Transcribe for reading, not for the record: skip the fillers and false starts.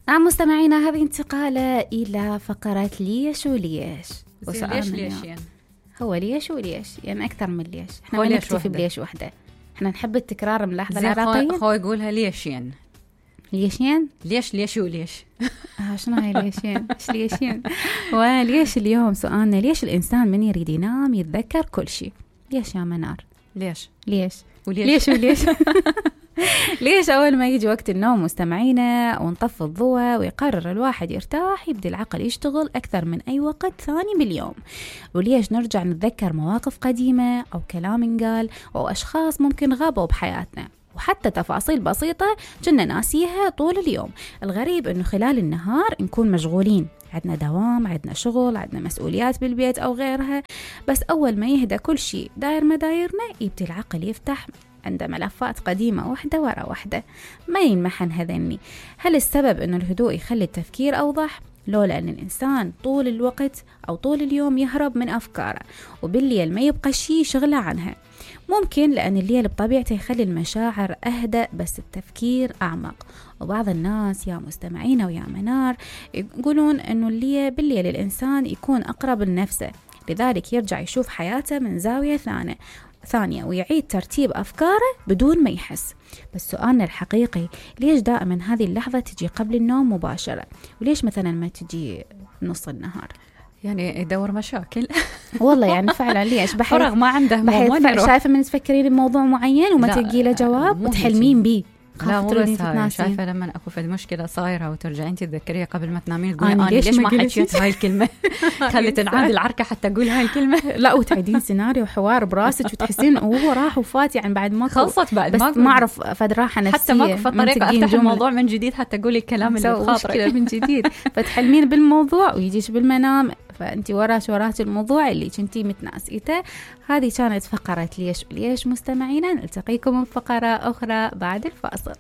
نعم مستمعينا، هذه انتقالة إلى فقرة ليش وليش. ليش يعني؟ هو ليش وليش يعني أكثر من ليش. احنا ما نكتفي بليش وحدة، احنا نحب التكرار ملاحظة العراقية. هو يقولها ليشين ليشين ليش وليش. شنو هاي ليشين؟ ايش ليشين؟ وليش اليوم سؤالنا ليش الإنسان من يريد ينام يتذكر كل شيء؟ ليش يا منار؟ ليش وليش ليش أول ما يجي وقت النوم مستمعينا ونطفي الضوء ويقرر الواحد يرتاح يبدأ العقل يشتغل أكثر من أي وقت ثاني باليوم؟ وليش نرجع نتذكر مواقف قديمة أو كلام انقال أو أشخاص ممكن غابوا بحياتنا، وحتى تفاصيل بسيطة كنا ناسيها طول اليوم؟ الغريب أنه خلال النهار نكون مشغولين، عندنا دوام، عندنا شغل، عندنا مسؤوليات بالبيت أو غيرها، بس أول ما يهدى كل شيء داير مدايرنا يبدأ العقل يفتح عنده ملفات قديمة واحدة ورا واحدة ما ينمحن هذني. هل السبب أنه الهدوء يخلي التفكير أوضح؟ لو لأن الإنسان طول الوقت أو طول اليوم يهرب من أفكاره وبالليل ما يبقى شيء شغله عنها. ممكن لأن الليل بطبيعته يخلي المشاعر أهدأ بس التفكير أعمق. وبعض الناس يا مستمعين ويا منار يقولون أنه بالليل الإنسان يكون أقرب لنفسه، لذلك يرجع يشوف حياته من زاوية ثانية ويعيد ترتيب أفكاره بدون ما يحس. بس سؤالنا الحقيقي ليش دائما هذه اللحظة تجي قبل النوم مباشرة؟ وليش مثلا ما تجي نص النهار؟ يعني يدور مشاكل. والله يعني فعلا ليش فرغ ما عنده شايفة من تفكرين بموضوع معين وما تلقي له جواب وتحلمين بيه. لا مو بس هاي، شايفة لما أكو في مشكلة صايرة وترجعين تتذكريها قبل ما تنامين تقولي أنا ليش ما حكيت هاي الكلمة. خلت العاد العركة حتى أقول هاي الكلمة. لا وتعيدين سيناريو حوار براسك وتحسين هو راح وفات يعني بعد ما خلصت بعد بس ما أعرف فد راحة نفسية حتى ما في طريقة أفتح الموضوع من جديد حتى أقولي الكلام اللي بخاطرك من جديد. فتحلمين بالموضوع ويجيش بالمنام فأنتي وراش الموضوع اللي كنتي متناسيته. هذه كانت فقرة ليش مستمعينا، نلتقيكم من فقرة أخرى بعد الفاصل.